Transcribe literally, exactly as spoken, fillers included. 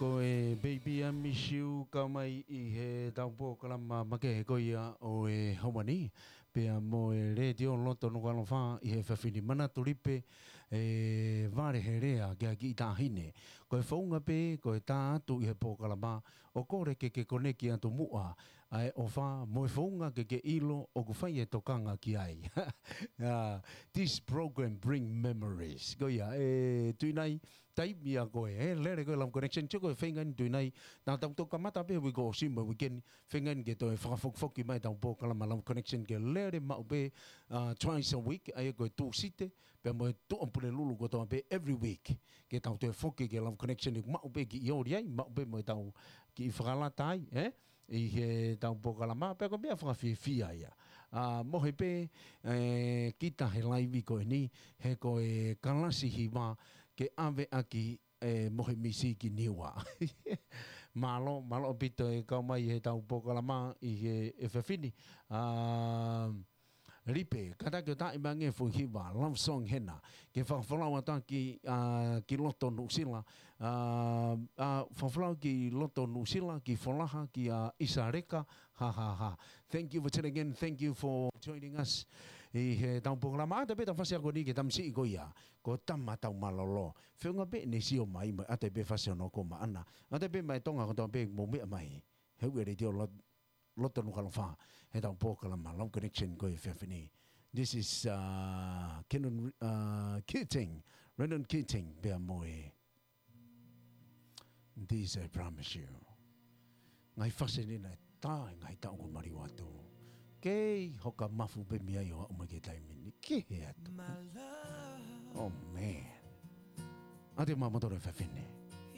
Ko e Baby I Miss You, kau mai ʻi heʻetau polokalama makehe ko ia ʻo e ʻaho ni, pea mo e Letiō Loto Nukuʻalofa ʻi he efiafi ni. Manatu Lipe, ʻe vale he lea ki he kiʻi taʻahine. Ko e founga pē, ko e tā atu ʻi he polokalama, ʻo kole ke ke koneki atu muʻa ʻa e ʻofa mo e founga ke ke ʻilo ʻoku fai e tokanga ki ai. Ah, this program bring memories. Ko ia, ʻe Tuʻinai, taimi ia ko ē, ʻe lele ko ē Love Connection, tio ko e feinga eni Tuʻinai, naʻa tau toki kamata pē uike ʻosi mo e uike ni, feinga eni ke toe fakafokifoki mai ʻetau polokalama Love Connection ke lele maʻu pē, ah, twice a week, ʻa ia ko e Tūsite, pea mo e Tuʻapulelulu kotoa pē every week. Ke tau toe foki ki he Love Connection ʻoku maʻu pē kiʻi ʻoli ai, maʻu pē mo ʻetau kiʻi fakalata ai, ē? ʻI heʻetau polokalama, pea ko e meʻa fakafiefia ia. Ah, mohe pē, ē, kita he laivi ko eni, he ko e kalasi hiva ke ʻave ʻaki, ē, mohe misi ki Niua. Mālō, mālō ʻaupito e kau mai heʻetau polokalama ʻi he efiafi ni. Ah, Lipe, kātaki ʻo taaʻi mai ange e foʻi hiva, love song hena. Ke fakafolau atu ki, ah, ki loto Nuʻusila. Ah, ah, fakafolau ki loto Nuʻusila, ki Folaha, kia ʻIsa Leka, ha, ha, ha. Thank you for tuning in, thank you for joining us. ʻI heʻetau polokalama, ʻata pē ʻetau fasi ako ni ki he tamasiʻi ko ia, ko Tama Taumalolo. Feʻunga pē ʻene sio mai mo e ʻata pē fasi hono ako maʻana. ʻAta pē mei Tonga kotoa pē mou meʻa mai. He uere tio lot- Loto Nukuʻalofa, heʻetau polokalama Love Connection ko e efiafi ni. This is, uh, Kenon, uh, Keating, Renon Keating, pea mo e This I Promise You. Ngaahi fasi ni naʻe tā e ngaahi taʻu kuo maliu atu. Kei hoka mafu pē mei ai ʻo aʻu mai ki he taimi ni. Kehe atu. Oh, man. ʻAte ma motoro e efiafi ni.